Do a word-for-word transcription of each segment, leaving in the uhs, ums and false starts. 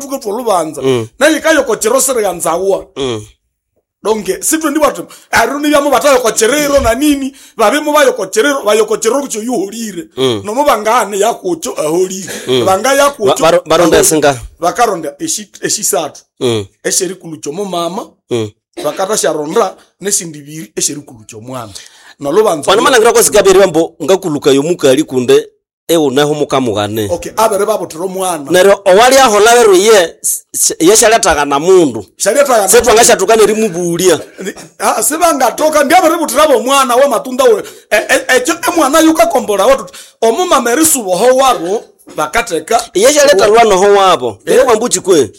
Tuketwa olubanza neyikayoko chiro siriganzawa. Mm. Donge sitwendi bwati aruni byamo batayoko chiriro na nini babimo bayoko chiriro bayoko chiriro kucho yuholire nomo bangane yakucho aholire banga yakucho Ba- baronda esinga bakaronda eshi eshisathu Mm. esherikulu mama Mm. bakatasharonda nesindi biri esherikulu mwana nolubanza wanamalhangira kwasikabiri bambo ngakuluka yomukali kunde euneho mukamughane okay abere babuthira omwana neryo owali ahola beryo ye shalyathagana mundu shalyatagana setwangashathuka nerimubulya Ah, sibangatoka ndiabere bo omwana wamatunda we E- e- ekyo emwana yukakombola watu omumama erisuboho wabo bakatheka iye shaleta noho wabo Eh. wambuchi kwe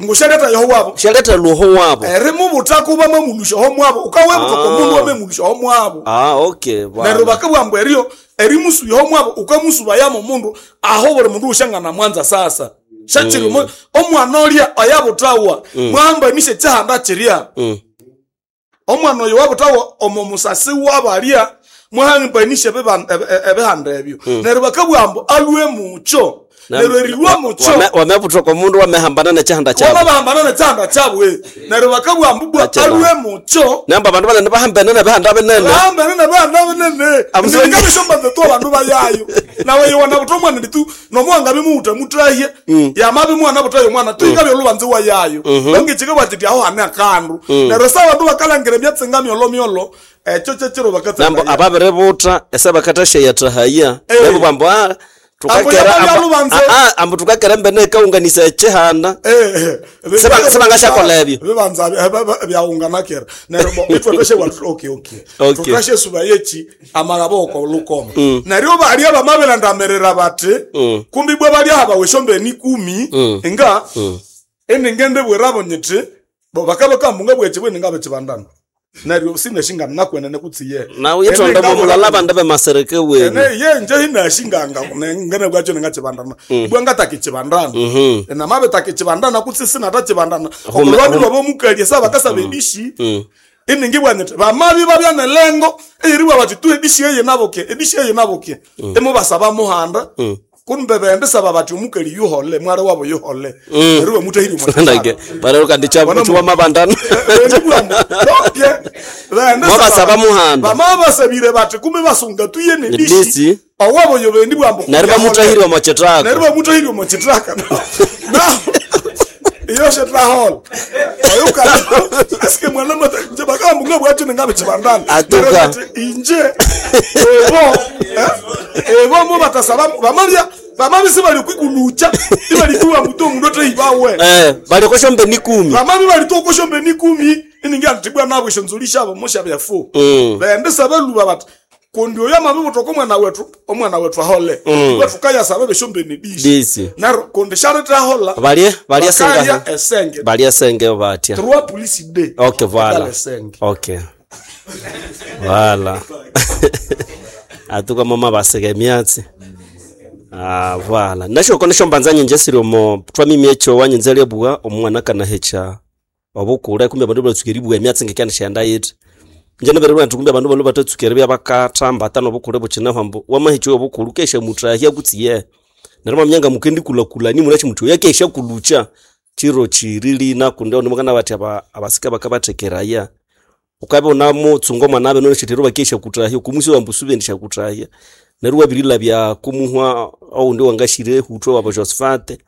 ngushaleta yoho wabo shaleta lwoho wabo erimubuthako bamamulusha ho mwabo ukawebuthaka omundu wamemulusha ho mwabo ah okay bwana. neryo bakabwamba eryo erimusuya ho mwabo ukamusubayamo omundu aho buli mundu ushangana mwanza sasa shachiri mm. omwana olya oyabuthawa mwahamba kyihanda kirya Mm. omwana oyo wabuthawa omo musasi wabalya mwahambanisye ebiban- ebe- e- ebihanda ebyo neryo bakabwamba alwe mukyo Na- neryo erilwa mukyo Wame- wamebuthoka omundu wamehambana nekyihanda kyabo wamabahambana nekyihanda kyabwe neryo bakabwamba bwa Achela. alwe mukyo namba abandu banene bahambene nebihanda binene bahambene nebihanda binene Amusonyi. ndikabishombanza tu abandu bayayo nawe yowana buta omwana nditu nomuwanga bimuwuta mutahye yamabi mwana butayo omwana tuikabya olubanza wayayo bangechike bati aho hane akandu neryo sa abandu bakalangira emyatsinga myolomyolo ekyo kyekiro nambo bakatsangayo ababiributa ese bakathashayathahaya Eh. nabo bambo ah, tukakera Ambo ambo- yalubanze. ah, ah, ambo tukakera embene ekaunganisa ekyihanda Seba- sebangashakola ebyo. bibanza byaunganakera neryo bo itwetweshe okay okay Okay. tutashe suba yechi amagaboko lukoma neryo balya bamabilandamirira bati kumbi bwe balya habaweshombeni ikumi nga eningende bwerabo nyiti bo bakabakambunga bwechi bweninga bekibandana neryo sineshingana nakwenene kutsiye nawe yithonda mulala abandu bemasereke wenu ene ye nje hinashinganga ngene bwacho ningachibandana bwa ngatakechibandana namabe takechibandana kutsi sinatakibandana Hume- olwandi lwabo sa bakasaba edishi iningi bwanyiti bamabi babya nelengo eyiriwa bati tu edishi eye naboke edishi eye naboke emubasaba muhanda kumbe bendisaba bati omukali yuhole mwari wabo yuhole neryo bamutahiri ndage barero kandi chiwamabandana Mwabasaba muhanda. bamabasabire bati kumbe basunga tuye Nedisi. nedishi owabo yo bendi bwambo neryo bamutahiri neryo omokyithaka bamutahiri omokyithaka na iyo shetrahol oyuka asike mwana mata nje bakambunga bwacho ningabe chibandana Atuka. Neryo bati, inje ebo eh, ebo mo batasaba bamalya bamabisi bali kwikulucha ibalikuwa muto mundu ateibawe eh balikosha mbeni kumi vamami valitokoshombe nikumi iningi anitibwa navo ishonzolishavo moshavyafu Mm. vendisa veluva vati kundi oyo amavivutoko omwana wetu omwana wetu ahole mm. wetukayasava veshombeni dishi Disi. naro kundi sharitahola balye balye bakalya senga esenge balye senge batya trois polisi de okay voilà esenge okay voilà atuka mama baseka emyatsi ah voilà nashoko nishombanza nyenje siri omo twamimi echo wanyenze lebwa omwana kanahecha obukule kumbe abandu batsuka eribwa emyatsi ngekya nishenda yiti nje nebererwa nti kumbe abandu bano batatsuka eribya bakathamba ata nobukule bukinaho ambu wamahecha obukulu kesha muthahya kutsiye neryo mwamyanga mukendikulhakulani munachi muthi oyo akesha kulucha chiro chirilina kundi onimukana bathi aba- abasika bakabathekeraya ukabe unamutsunga omwana abe noneshithero bakesha kutahya kumusi wambusube kutahya neryo wabirilabya kumuhwa oundi wangashire hutwe wabo Josephat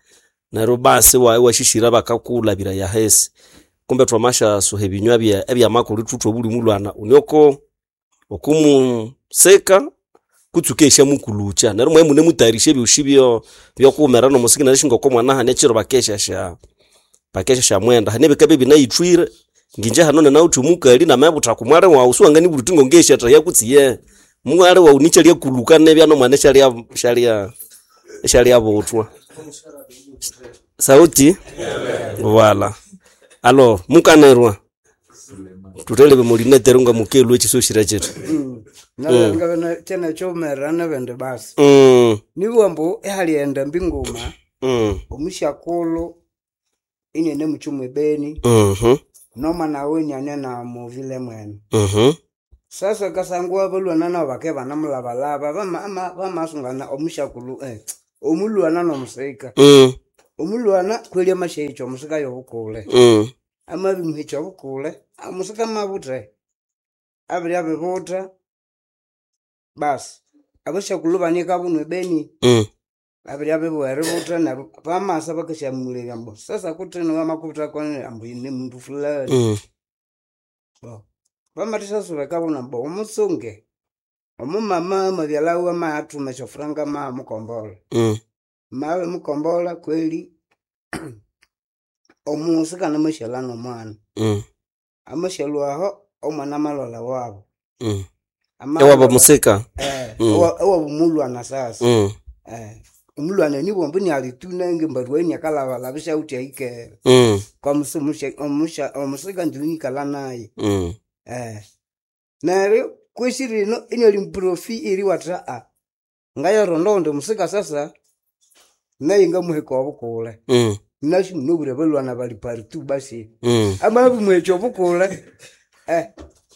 neryo basi wa- washishira bakakulabira yahesi kumbe twamasha suha ebinywa bya ebyamakulu thuthwe buli mulwana unioko okumuseka kutsuka eshamukulucha neryo mwe mune mutayarisha ebyoshi byo byokuwumera nomusiki neryo shingoko omwana hane ekiro bakesha sha bakesha sha mwenda hane bikabe binayithwire nginje hano nenawuthi omukali namebutha kumwale wawu siwanganibulha uthi ngongeshatha yakutsiye mwale wawu nichalya nebya nomwana shalya shalya shalya buthwa sauti wala alo mukanerwa tuthelebe mulinetero nga mukelwa echisoshira chetu nalangavena chene chomerera nevende basi mm, nibuwa mbu ehalienda mbinguma mm, omushakulu inene muchumu ebeni mhm, nomwana we nyane na muvile mwene mhm, sasa kasanguwa balwana nabo bake banamulabalaba bama- ama- bamasungana omushakulu eh, omulwana nomusika mm, Omulwana kweli amasyahicha omusika yobukule. Mm. Amabimuhicha obukule, omusika mabuthe. Abirya bibutha, basi abasyakulhu banikabo ebeni. Mm. Babirya bibugha eributha neryo bamasa bakasyamulebya ambu sasa kuthino wamakubutha koni ambu ni mundu fulani. Mm. Bo bamathasya ekabona ambu omutsunge omumama amabyalhawe amayathuma esyofuranga mayamukombolha. Mm. Mabimukombolha kweli omusikana amasyalha nomwana. Mm. Amasyalhwa aho omwana amalholha ewabo. Mm. Amalholha Ewabo musika. eh, Mm. ewa- ewabo mulwana sasa. Mm. Eh, omulwana nibwambu niali tu nenge mbarua iniakalhabalhaba isyawithe ahikere. Mm. Kwamusi omusya omusya omusika njiwikalha naye. Mm. Eh, neryo kwesi rino iniali muprofi eriwatha aa ngayaronda owundi musika sasa naye ngamuheka obukule. Mm. Nasi munabwire abalhwana bali paritu basi. Mm. Amabimuhekya obukule eh,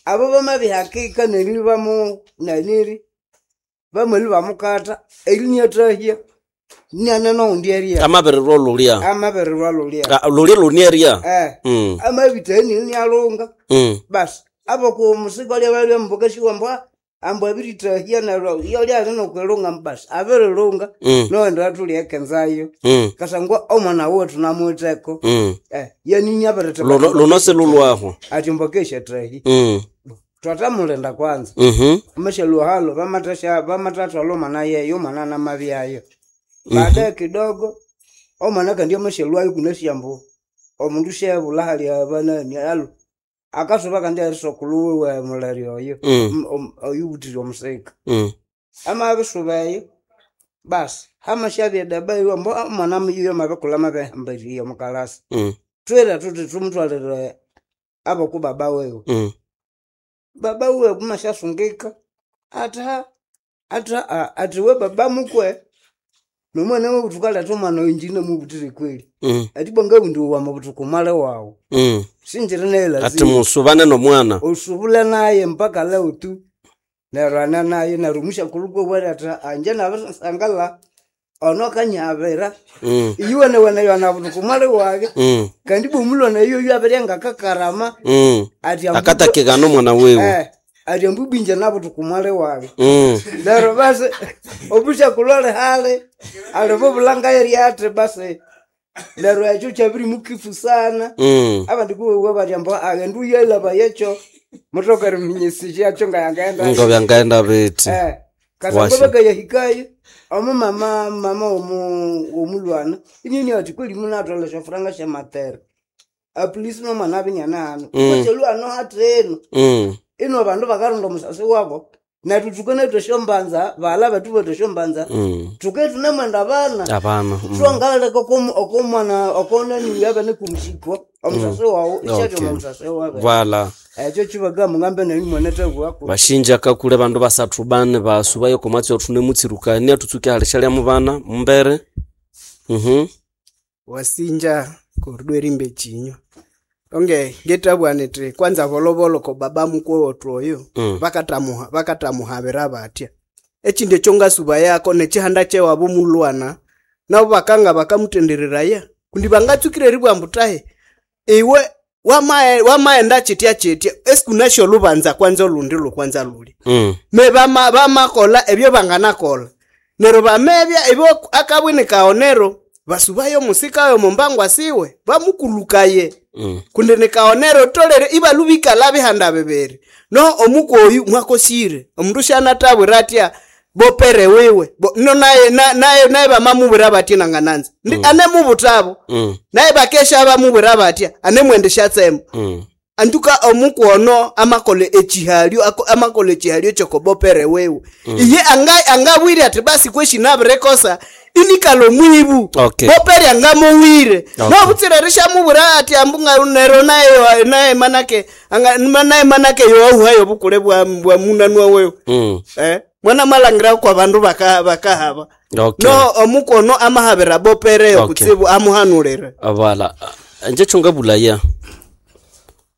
abo bamabihakika neryo bamu naniri bamali bamukatha eri niathahya niane nowundi eria Amabirirwa olulya. amabirirwa lulya. Ah, Lulya lunieria. Eh, Mm. amabithahya nialunga. Mm. Basi aboku omusika olya balya mbukasiwa ambu ambu abirithahya neryo yolya ali nokwilunga basi abirilunga Mm. nowundi athulya ekenzayo. Mm. Kasangwa omwana wethu namuwitheko. Mm. Eh, yanini abiritha Luno luno silulwaho. athi mbakesyathahya. Mm. Twathamulinda kwanza. Mhm. Amasyalu halo bamathasya bamathathwalha omwana yeyo omwana namabyayo. Baadaye kidogo omwana kandi amasyalwayo kunasi ambu omundu syabulha hali abanani alu akasuba kandi erisokulhu wiwe muleri oyo Mm. m- om- oyubuthire omusika. Mm. Amabisuba eyo basi hamasyabya edaba eyo ambu omwana yuyo amabikulha amabihambiriye omukalasi. Mm. Twira thuthi thumuthwalire aboku baba wiwe. Mm. Baba wiwe kumasyasungika athi ha athi aa athi we baba mukwe nomwana wiwe thukaletha omwana oyo inje inamubuthire kweli. Mm. Athi bwa ngawundi wamabuthuka omwali wawu. Mm. Sinjiri naye Ati lazima. musubane nomwana. Usubule naye mpaka leo tu. Neryo ane naye neryo omusyakulhu kwabwire athi anje nabirisangala ono akanyabira. Mm. Iyuwenewene yanabutuka omwali wage. Mm. Kandi ibwa omulwana yoyo abirya ngakakarama Mm. athi ambu Akatakikana omwana wiwe. eh, athi ambu ibwa inje nabutuka omwali wage. Mm. Neryo basi obusyakulhu alihali alibubulha ngayeryati basi neryo ekyo kyabirimukifu sana. Mm. Abandi kubowa bathi ambu aghendu uyalaba yekyo muthoka eriminyisa syakyo ngayangaghenda Ngo byangaghenda bithi. Eh, kasangwa Washa. bakayahikayo omumama mama womu womulwana inini athi kweli munathola esyofuranga syamatere apolisi nomwana abinyana hano Mm. kwasyalhu hano hathino Mm. ino abandu bakaronda omusasi wabo nethu thukanathu esyombanza baghala bethu bethu esyombanza Mm. thuke thunamwenda abana Abana. Mm. thwangaleka okomu- okomwana okonani yabene kumushiko omusasi wawu isyathya Okay. omusasi wabe Vala. ekyo kibaka mungambe nenyu mwanathabwako Bashinja kakule bandu basathu bane basubayo komwatsi othune mutsirukania tutsuke halishalya mubana mumbere. Mhm. Wasinja koridwa erimba ekinywa onge ngetabwa niti kwanza volovolo ko baba mukwe wethu oyo Mm. bakatamuha bakatamuhabira batya ekindi ekyo ngasuba yako nekihanda kyewabo mulwana nabo bakanga bakamutendereraya kundi bangatsukire eribwa ambu tahe iwe wamae- wamaenda kyitya kyitya esikunasyo olubanza kwanza olundi lukwanza luli Mm. me bama bamakola ebyo banganakola neryo bamebya ebyo akabwini kaonero basubayo musikayo mumbangwa siwe bamukulukaye Mm. kundi nikaonero tolere ibalubikala bihanda bibiri no omukoyu mwakosire omundu syanatabwira atya bopere wiwe Bo- no naye na- naye naye bamamubwira batya nangananza ndi anemubutabo Mm. naye bakesha bamubwira batya anemwendesyatsemo Mm. antuka omukono amakola ekihalyo ako- amakola ekihalyo kyokobopere wewe iye anga- angabwire ati basi kweshi nabirekosa inikala omwibu Okay. bopere angamuwire Okay. nobutsira rishamubwira ati ambunga nero naye naye manake anga- naye manake yowauhayo obukule bwa bwa munanwa wewe Mm. eh mwana malangira kwa bandu baka bakahaba Okay. no omukono amahabira bopere Okay. kutsibu amuhanulire Vala. Nje chungabulaya.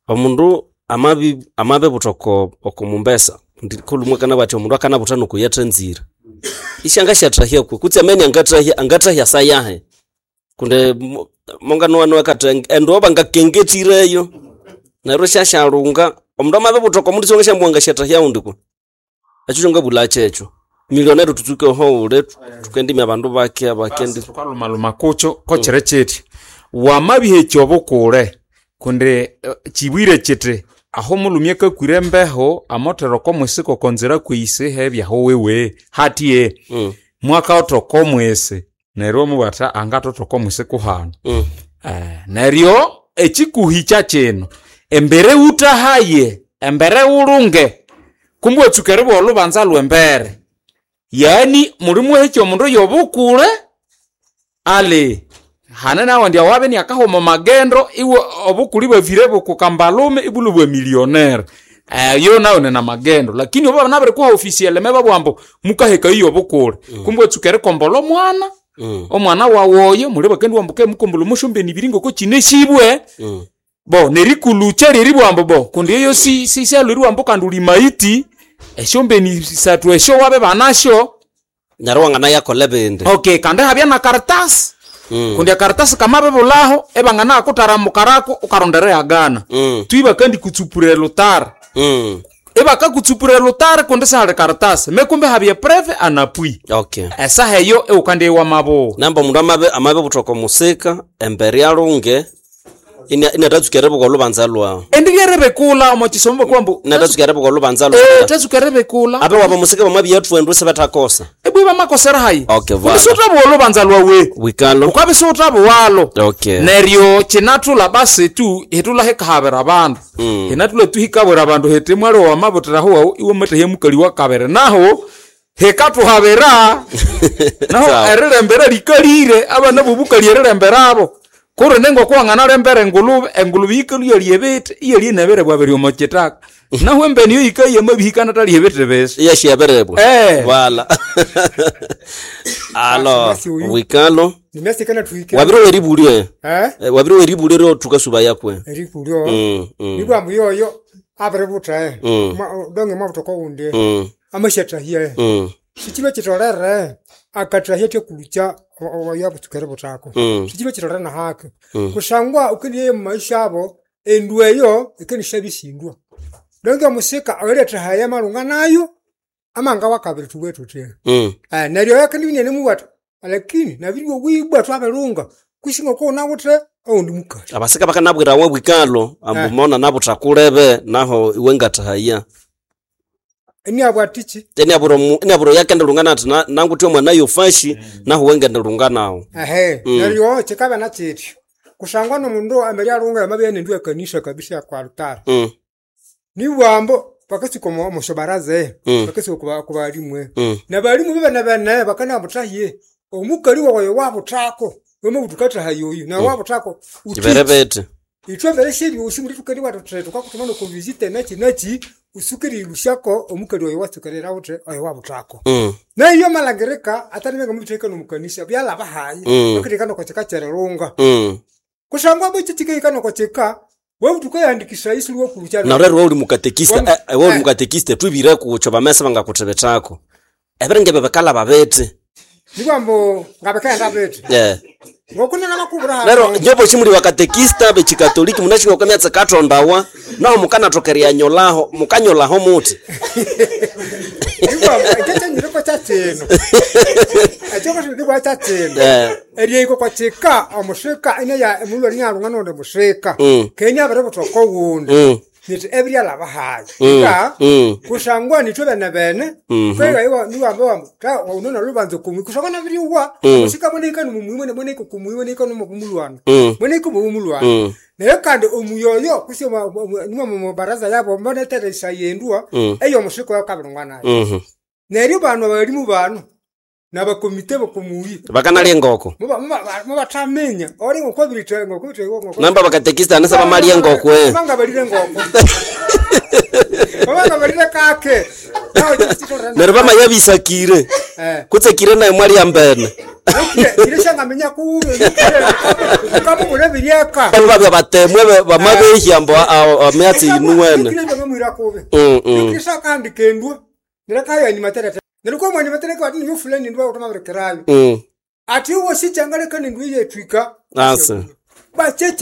Omundu amabi amabe butoko okumumbesa ndikhulumwe kana bati omundu akanabutha nokuyatha nzira. Ishanga syathahya kwe kutsi amene angathahya angathahya sayahe. Kunde mo- monganuwa kati endo bangakengetireyo neryo syashalunga omundu amabibuthaka omundu siwangashambuwanga syatahya undi ku ekyo kyongabulha kyekyo milionero tutsuke oho ule tukendimya abandu bake bakendi tukalumaluma kukyo kokyiri kyithi wamabihekya obukule kundi eh, kibwire kyithi aho omulhume akakwire embeho amothera oko mwisi kokonzira kwisi hebyaho wewe hatiye Mm, mwakaotha oko mwisi neryo omubwatha angathotha oko mwisi kuhano mm, Eh, neryo ekikuhikya kino embere wuthahaye embere wulunge kumbi watsuka eribugha olhubanza lw'embere yani mulimuhekya omundu yobukule ali hane nawandi awabe niakahuma magendo iwe obukuli bwavire bukukambalume ibulu bwa millionaire Eh, yo nayo nina magendo lakini obo nabirikuha ofisiele babugha ambu mukaheka iyo obukule kumbi watsuka erikombola omwana mm, omwana wawoyo muli bakendi wambuke mukombola omushombeni ibiri ngoko kinesibwe mm. bo nerikulucha lyeribwambo bo kundi eyo si si syalweriwambo kandi uli maiti esyombeni sathu esyo wabe banasyo Neryo wanganayakola ebindi okay kandi habya na karatasi Mm, kundi akaratasi kamabibulaho ebangana mukarako ukarondera yagana mm, twi kandi kutsupura elutara mm. ebakakutsupura elutara kundi sihali karatasi mekumbe habya preve anapui Okay esaha eyo eukandi ewamabuwa namba omundu amabe amabibuthaka omusika embere alunge ina- inatatsuka eribuka olubanza lwawu endi lyerebekula omo kisomo bakwambu inatatsuka eribuka olubanza Eh, lwawu tatsuka erebekula abe waba omusika bamwabiyathuwa endu sibethakosa ebwe bamakosera hayi Okay, Kundi vala. siuthabuwa olubanza lwawe wikalo ukabe siuthabuwalo okay neryo kinathula basi tu hitula hikahabira abandu Mm. hinathula tu hikabwira abandu hiti mwali wamabuthiraho wawu iwe matahya mukali wa kabiri naho hikathuhabira naho Sawa. erilembera likalire abana bobukali erilemberabo kuri ningokuwanganalembera engulube engulube yikalu yalya ebiti iyalya inabere bwabiri omo kitaka naho embeni yo yikaya mabihikana talya ebiti bisi iyashiyabirebwa Eh. vala alo Basi uyu. wikalo nimesikana tuhike wabire weribulye eh Eh, wabire weribulye ryo tukasuba yakwe erikulyo Mm, mm, nibwambu yoyo abiributa Mm. donge mwabutoka wundi mm, amashatahie mm, sichilo chitolere akatahie tekulucha yabutsukere butako Mm. sichilo chitolere na hake kusangwa ukeniye mumaisha abo endu eyo ikenishabisindwa donge omusika oiretahaya malunga nayo amanga wakabiri tuwe tutye mm. Eh, neryo yakendibinene muwata lakini nabiriwe wibwa twabelunga kusinga konawuthe oundi mukali abasika bakanabwirawe bwikalo ambu Eh. mona nabuthakulebe naho iwe ngathahaya eniabwatichi eniabura eniabura yakendelunga nati na- nanguthi omwana yofashi naho wengendelunga nawo ehe neryo chikaba nachityo kusangwa nomundu ambere alunga yamabya nendu ekanisa kabisa kwa altari Mm, nibwambo bakasuka omu- omusobaraza Mm. bakasuka kuba- kubalimu mm, nabalimu bebene bene bakanabuthaye omukali wawayo wabuthako wemabutukathahaye oyu nawe wabuthako ibere bete ithwe mbere syebyosi muli tukali watuthe tukakutuma nokuvisite nachi nachi usukire ilusyako omukali oyo watsukerera uthe oyo wabuthako Mm, naiyo malangirika atanimenga mubitheka nomukanisa byalaba hayi Mm. bakitheka nokochika kyererunga mm. kusangwa bwekyi nokochika webutuka yandikisa isuli wakulucha neryo iwe uli mukatekista Wam- eh, iwe uli eh. mukatekista twibire kucho bamese bangakuthibithako ebiringe bikalaba biti nikwambu ngabikaghenda bithi Eh. ngokunena makubura Nero nyobo chimuli bakatekista bechikatoliki munashinga okamyatsi kathondawa naho mukanathokerya nyolaho mukanyolaho muthi nikwambu ekyo kyanyiriko kyakyino ekyo kyakyino kyakyino Eh. eryeiko kwachika omusika ineya emulwa nialunga nondi musika Mm. kenya abiri butoko wundi Mm. niti ebiryalaba hayi Mm. nga Mm. kusangwa nithwe bene bene Mhm. kwega niwamba wamba ta unona lubanza kumwi kusangwa nabiriwa Mm. musika mweneika numumwi mwene mweneika kumwi mweneika numumulwana Mm. mweneika mumulwana Mm. naye kandi omuyoyo kusi nimwe mubaraza yabo mboneteresa yendwa Mm. eyo omusika oyo kabirungwa nayo Mhm. neryo bano abalimu bano nabakomite bokomuyi Bakanalya engoko mubataminya ori ngokobirite ngokobirite namba bakatekista anasa bamalya engoko eh. banga balire ngoko banga balire kake naho chichitorana neryo bamayabisakire eh kutsekire naye mwalya mbene kire shangamenya kube kamubule biryeka Bano babya batemwe be- bamabehya mbo amyatsi yinuwene kire bangamwira kube Mm, mm. kire shakandi kendwa nirakaya ni materete nilikuwa mwani matereke wati ni fulani ndwa utamabrekerayo Mm. Ati iwe sikyangaleka nendu yetwika. Asa. Bakyekire.